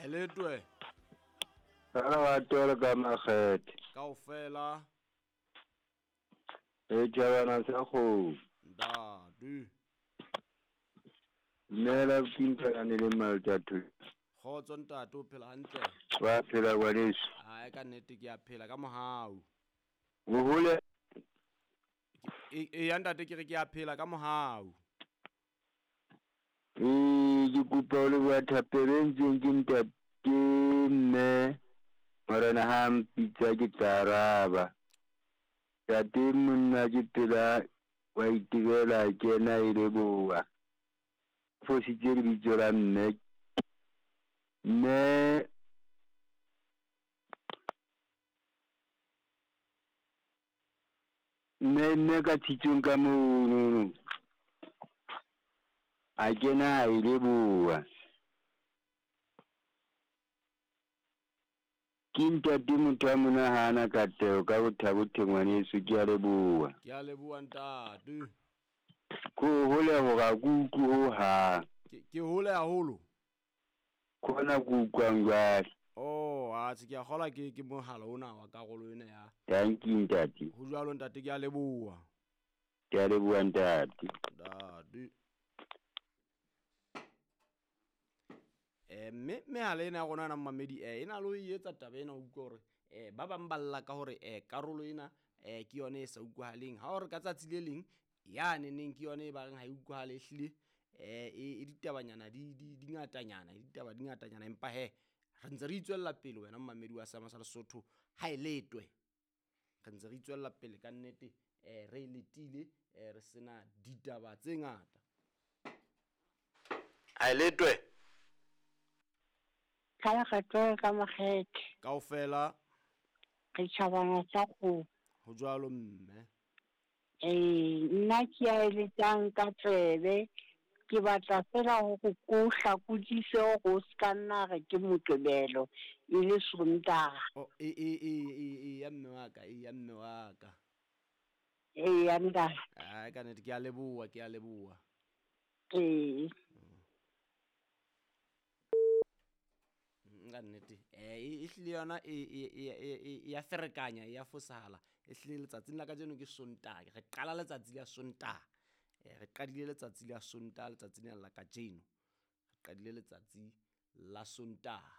Eletwe. Ka lerato le ka makgethe. Kaofela. E tjhabana sa kgomo. Ntate. Dumela Pintana le Maltathu. Kgotso ntate, o phela hantle? Wa phela ngwaneso. Hai, ka nnete ke a phela ka mohau. O hole. E ya ntate, ke re ke a phela ka mohau. Ee, ke kopa ho leboha thapelo e ntseng ke ntate mme morena ha mpitsa ke tla araba. Ntate monna ke pela wa itebela kena e leboha. Fositse lebitso la mme. Mme mme mme ka tshitsong ka mono. A kena a e leboha. Ke ntate motho a mona ha ana katleho ka bothabothe ngwaneso, ke a leboha. Ke a leboha ntate. Ko hole hore ha ke utlwe ho hang. Ke hole haholo. Kona ke utlwang jwale. Oh, atjhe ke a kgolwa ke mohala ona wa karolo ena ya. Thank you ntate. Ho jwalo ntate, ke a leboha. Ke a leboha ntate. Ntate. Mme mehala ena ya rona na mmamedi e na le ho e etsa taba ena, o utlwe hore ba bang ba lla ka hore karolo ena ke yona e sa utlwahaleng. Ha o re ka tsatsi le leng ya neneng ke yona e ba reng ha e utlwahale, ehlile e ditabanyana di ngatanyana, e ditaba di ngatanyana, empa he re ntse re itswella pele wena mmamedi wa Seama sa Lesotho ha e letwe. Re ntse re itswella pele ka nnete, re letile, re sena ditaba tse ngata. Ha e letwe. Ka lekgetho ka makgethe. Kaofela. Re tjhabana sa kgomo. Ho jwalo mme. Nna ke a eletsang ka tsebe. Ke batla fela hore ko hlakodise hore o ska nna re ke Moqebelo e le Sontaha. Oh, e ya mme wa ka, e ya mme wa ka. E ya ntate. Ai, ka nnete ke a leboha, ke a leboha. Ee. Ka nnete. E hlile yona e ya ferekanya, e ya fosahala. E hlile letsatsing la kajeno ke Sontaha. Re qala letsatsi la Sontaha. Re qadile letsatsi la Sontaha, letsatsi lena la kajeno. Re qadile letsatsi la Sontaha.